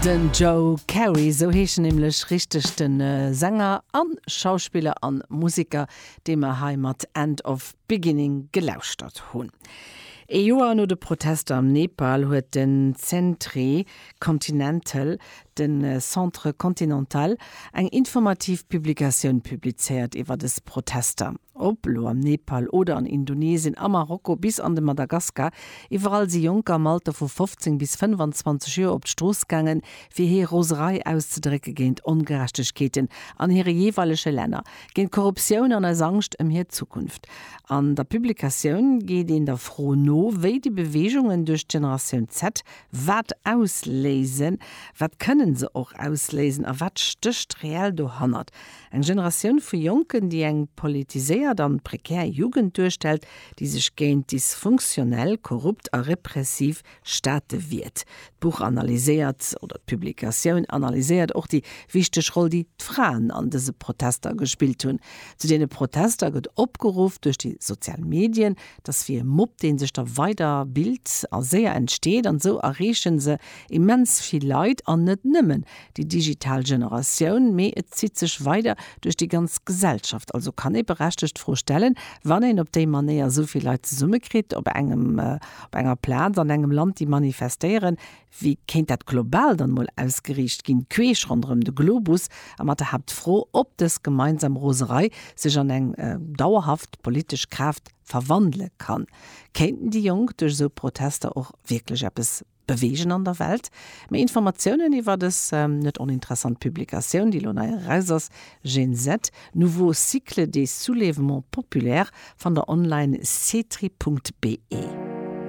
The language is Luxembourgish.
Den Joe Carey, esou heescht en nämlech richteg, de Sänger an Schauspiller an Museker, dee mer hei mat End of Beginning gelauschtert hunn. Ee Joer no de Protester am Nepal huet den Centre Continental, den Centre Continental, eng informativ Publikatioun publizéiert iwwer des Protester. Ob elo am Nepal oder an Indonesien, a Marokko bis an de Madagaskar, iwwerall si Jonker am Alter vu 15 bis 25 Joer op d'Strooss gaangen, fir hir Roserei auszedrécke géint Ongerechtegkeeten an hire jeeweilege Länner, géint Korruptioun an eis Angscht ëm hir Zukunft. An der Publikatioun geet een der Fro no, wéi déi Beweegungen duerch d'Generatioun Z wat ausléisen, wat kënnen se och ausléisen a wat stécht reell dohannert. Eng Generatioun vu Jonken, déi eng politiséiert an prekär Jugend duerstellt, déi sech géint dysfunktionell, korrupt a repressiv Staate wiert. D'Buch analyséiert, oder d'Publikatioun analyséiert och déi wichteg Roll, déi d'Fraen an dëse Protester gespillt hunn. Zu deene Protester gëtt opgeruff duerch déi sozial Medien. Et ass wéi e Mob, dee sech da weider bilt a séier entsteet. An esou erreeche se immens vill Leit an net nëmmen déi digital Generatioun, mee et zitt sech weider duerch déi ganz Gesellschaft. Also kann ee berechtegt d'Fro stellen, wann een op déi Manéier esou vill Leit zesummekritt op engem, op enger Plaz an engem Land, déi manifestéieren, wéi kéint dat global dann emol ausgeriicht ginn, queesch ronderëm de Globus a mat der Haaptfro, ob dës gemeinsam Roserei sech an eng dauerhaft politesch Kraaft verwandele kann. Kéinten déi Jonk duerch esou Protester och wierklech eppes beweegen an der Welt. Méi Informatiounen iwwer dës net oninteressant Publikatioun, déi elo nei eraus ass, Gen Z, Nouveau cycle des soulèvements populaires, fannt der online cetri.be.